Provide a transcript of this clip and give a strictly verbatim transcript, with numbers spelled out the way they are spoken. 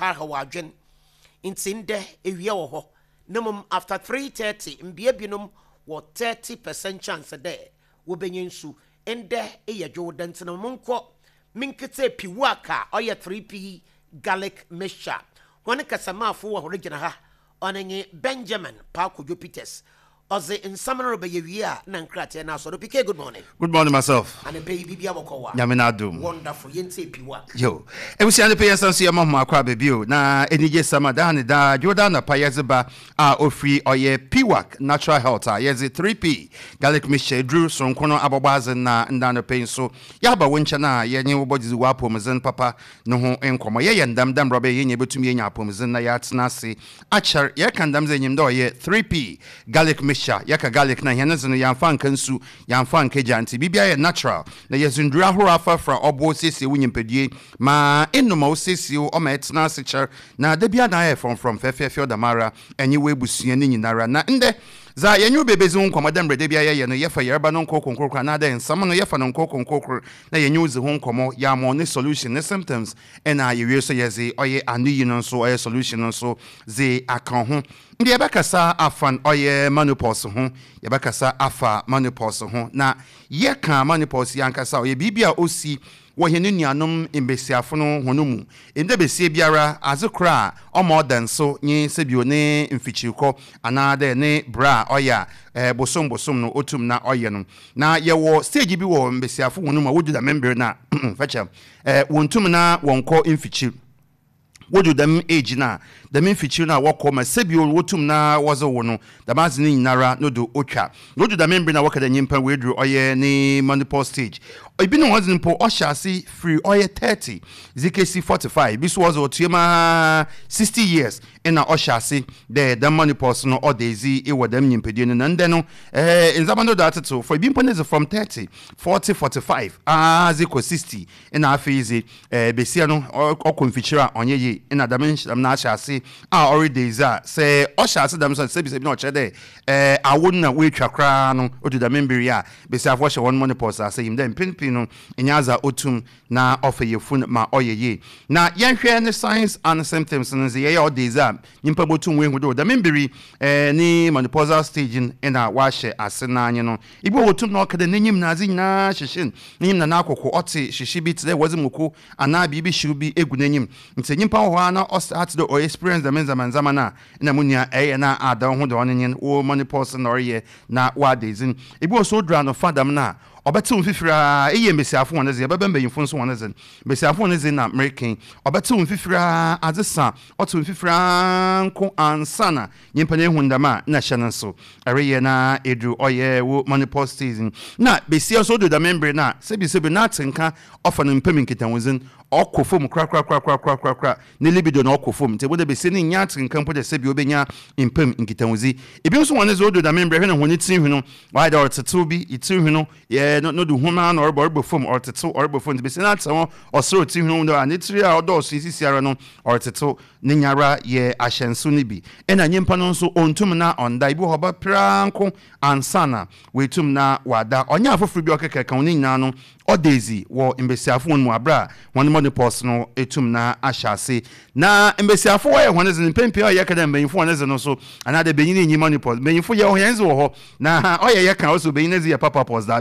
haw adwen. Nti ndɛ ewia wɔ hɔ na mmom after three thirty mbea binom wɔ thirty percent chance dɛ wobɛnya nsu. Ndɛ eyɛ dwow dɛ, nti no monkɔ menkete piwaka a ɔyɛ three P garlic mixture. Wɔne kasamaafo wɔ hɔ gyina ha, ɔne nye Benjamin Paakodwo Peters. Ɔdze nsɛm no rebɛyɛ wie a na nkrateɛ no asɔre. P K, good morning. Good morning myself. Anɔpa yi biribia bɔkɔ wa? Nyame na adom. Wonderful. Yɛntie piwak. Yo. Ebusua no pɛ yɛn nso yɛma ho akɔ abɛbio na anigye sama daa ne daa dwoda anapa yɛdze ba a ofiri ɔyɛ Piwak Natural Health a yɛdze three P garlic mixture duru soronko no abɔbɔ adze. Na nda no pɛ nso yɛaba wo nkyɛn a yɛnye wo bɔdze wɔ apɔmudzen papa no ho nkɔmmɔ. Yɛyɛ ndam dam rɔbɛ yɛnyɛ bɛtumi yɛnya apɔmudzen na yɛatena ase akyɛr. Yɛka ndam dze enyim dɛ ɔyɛ three P garlic mixture. Yɛka garlic na hɛn dze no yɛamfa nka nsu, yɛamfa nka gya, nti biribiara yɛ natural na yɛdze nduru ahorow afrafra ɔboɔ siesie wo nyimpadue ma enum a wosiesie wo ɔma ɛtena ase kyɛr na da bia na ayɛ frɔmfrɔm fɛfɛɛfɛ ɔdamara ɛnye wo ebusua ne nyinara. Na ndɛ dza yɛnye wo bebedzi ho nkɔmmɔ dɛ mmerɛ da bia yɛyɛ no, yɛfa yarba no nkɔkɔnkɔkor anaadɛ nsɛm no yɛfa no nkɔkɔnkɔkor na yɛnye wo dzi ho nkɔmmɔ, yɛama ne solution ne symptoms, ɛna yɛwie so yɛdze ɔyɛ ano yi no nso ɔyɛ solution no nso dze aka ho. Nti yɛbɛkasa afa ɔyɛ menopause ho. Yɛbɛkasa afa menopause ho na yɛka menopause yi ankasa, ɔyɛ biribi a osi wɔ hɛn nuanom mbesiafo no hɔn mu. Ndɛ besie biara adze koro a ɔma ɔda nso nye sɛbio ne mfikyirikɔ anaadɛ ne bra a ɔyɛ a ɛɛ bosom bosom no otum na ɔyɛ no. Na yɛwɔ stage bi wɔ mbesiafo hɔn mu a wodu dɛm mbere na fɛkyɛ ɛɛ wɔntum na wɔnkɔ mfikyir. Wodu dɛm age na dɛm mfikyir no a wɔkɔ ma sɛbio wotum na wɔdze wo no, dɛm adze no nyinara no do otwa na odu dɛm mbere na wɔka dɛ nyimpa woeduru ɔyɛ ne menopause stage. Ebi no wɔdze mpo ɔhyɛ ase firi ɔyɛ thirty dze kesi forty-five, bi so wɔdze ɔtue ma sixty years ɛna ɔhyɛ ase dɛ dɛm menopause no ɔda edzi wɔ dɛm nyimpadua no. Na ndɛ no ɛɛ ndzɛmba no do atetew for ebi mpo ne dze from thirty, forty, forty-five aa dze kɔ sixty, ɛna afei dze ɛɛ besia no ɔkɔ mfikyire a ɔnyɛ yie, ɛna dɛm nhyɛm no ahyɛ ase a ɔreda edzi a sɛ ɔhyɛ ase dɛm so sɛbi sɛbi na ɔkyerɛ dɛ ɛɛ awo no na woetwa koraa no. Odu dɛm mbere yi a besiafo hyɛ wɔn menopause ase yim dɛ mpɛn pii no ɛnyɛ adze a otum na ɔfa yɛfun ma ɔyɛ yie. Na yɛnhwɛ ne signs and symptoms no nze yɛyɛ ɔda edzi a nyimpa botum wehu do dɛm mbere ɛɛ ne menopausal stage no ɛna wahyɛ ase n'anye no. Ibi wɔ otum na ɔka dɛ n'enyim na adze nyinaa hyehyɛ n'enyim na n'akoko ɔte hyehye bi te dɛ wɔdze moko anaa biribi hyew bi egu n'enyim. Nti nyimpa wɔ hɔ a na ɔstart dɛ ɔyɛ experience dɛm ndzɛmba ndzɛmba no a na mu nua ɛyɛ na ada ho de ɔno nye wo menopause na ɔreyɛ na wada edzi. Ebi wɔ so oduru anofa dɛm no a ɔbɛtew mfifiri a ɛyɛ mbesiafo wɔn dze, yɛbɛbɛ mbanyinfo nso wɔn dze, mbesiafo wɔn dze na mmereken ɔbɛtew mfifiri a adze sa ɔtew mfifiri a nko ansa na nyimpa no ehu ndɛm a na hyɛ no nso ɛreyɛ na edu ɔyɛ wo menopause season. Na besia nso odu dɛm mbere na sɛbi sɛbi na ate nka ɔfa no mpam nkitahodzi ɔkɔ fam korakorakorakorakorakora, ne libido na ɔkɔ fam. Nti ebi de besia ne nya ate nka mpo de sɛbi obenya mpam nkitahodzi. Ebi nso wɔn dze odu dɛm mbere hwɛ na wɔn tiri hwi no wɔayɛ dɛ ɔretetew bi tiri hwi no yɛ no no de homa na ɔrebɔ ɔrebɔ fam, ɔretetew ɔrebɔ fam. Nti besia no ate ho ɔsoro tiri hwi no a ne tiri a ɔdɔɔso sisi ara no ɔretetew ne nyara yɛ ahyɛnso no bi. Ɛna nyimpa no nso ɔntum na ɔnda. Ebi wɔ hɔ ɔbɛpra nko ansa na wetum na wada. Ɔnyɛ afoforɔ bi ɔkeka ka wɔn nyinaa no ɔda ezi wɔ mbesiafo wɔn mu abere a wɔn menopause no etum na ahyɛ ase. Na mbesiafo wɔyɛ wɔn dze mpɛmpɛ a ɔyɛ kɛdɛ mbanyinfo wɔn dze no so anaadɛ benyin nyi menopause. Mbanyinfo yɛ wɔn dze wɔ hɔ na ɔyɛ yɛ kan ɔsɛ benyin dze yɛ papa pause daabi.